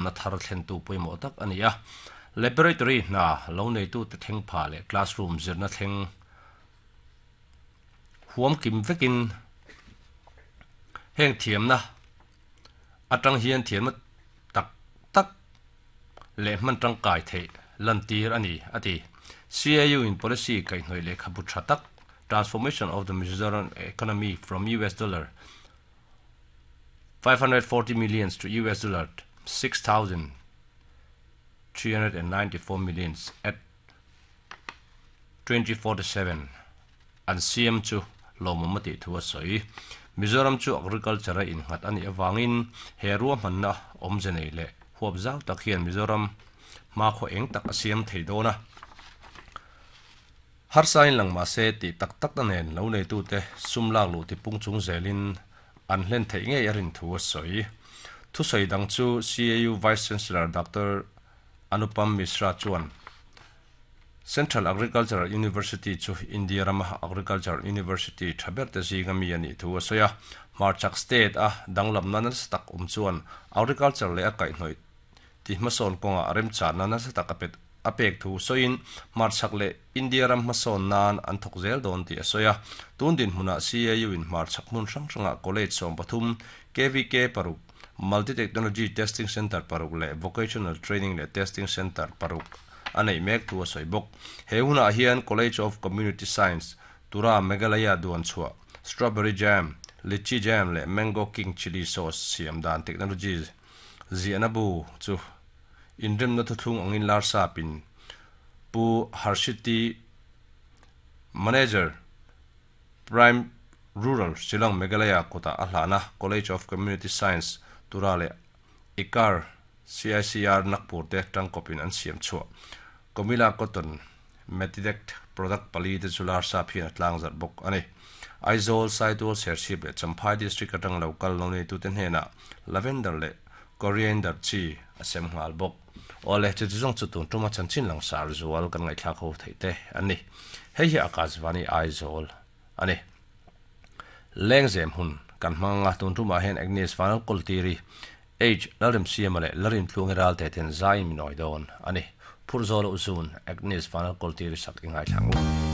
Na thar thlentu pawimawh tak a ni a. Laboratory hna lo neitute thleng pha leh classroom zirna thleng huam kim vekin heng thiamna atang hian thiamna tak tak leh hman tangkai theih lantir a ni, a ti. CAU in policy kaihhnawih lehkhabu tha tak Transformation of the Mizoram Economy from US Dollar 540 millions to US dollar 6,394 millions at 2047 an siam chu lawmawm a tih thu a sawi. Mizoram chu agriculture a innghat a nih avangin he ruahmanna awmze nei leh huap zau tak hian Mizoram hmakhua eng tak a siam thei dawn a. Harsain lang mah se tih tak tak na nen lo neitute sum lak luh tipung chung zelin an hlen theih ngei a rin thu a sawi. Thusawi dang chu CAU Vice Chancellor Doctor Anupam Mishra chuan Central Agricultural University chu India rama Agriculture University tha berte zinga mi a nih thu a sawi a. Hmarchhak state a danglamna nasa tak awm chuan Agriculture leh a kaihhnawih ti hmasawn kawngah remchanna nasa tak a pet a pek thu sawiin hmarchhak leh India ram hmasawn nan an thawk zel dawn tih a sawi a. Tun dinhmunah CAU in hmarchhak hmun hrang hrangah College 13, KVK paruk, Multi Technology Testing Centre paruk leh Vocational Training leh Testing Centre paruk a neih mek thu a sawi bawk. He hunah hian College of Community Science, Tura, Meghalaya duan chhuah, Strawberry Jam, Litchi Jam leh Mango King Chilli Sauce siam dan technology Ziahna bu chu inremna thuthlung angin lar sapin Pu Harshiti, Manager, Prime Rural, Shillong, Meghalaya kutah a hlahna College of Community Science, Tura leh ICAR, CICR, Nagpur te tangkawpin an siam chhuah. Comilla Cotton Metidect product pali te chu lar sap hian a tlang zarh bawk a ni. Aizawl, Saitual, Serchhip leh Champhai District atang lo kal lo neitute hnenah Lavender leh Coriander chi a sem nghal bawk. Awle, chuti zawng chu tun tuma chanchin langsar zual kan ngaihthlak ho theih te an ni. Hei hi Akashvani Aizawl a ni. Lengzem hun kan hmang anga tun tumah hian Agnes Vanlalkawltiri H. Lalremsiama leh Lalrintluangi Ralte ten zaiin min awi dawn a ni. Phurh zawh loh zun Agnes Vanlalkawltiri sak i ngaithla ang u.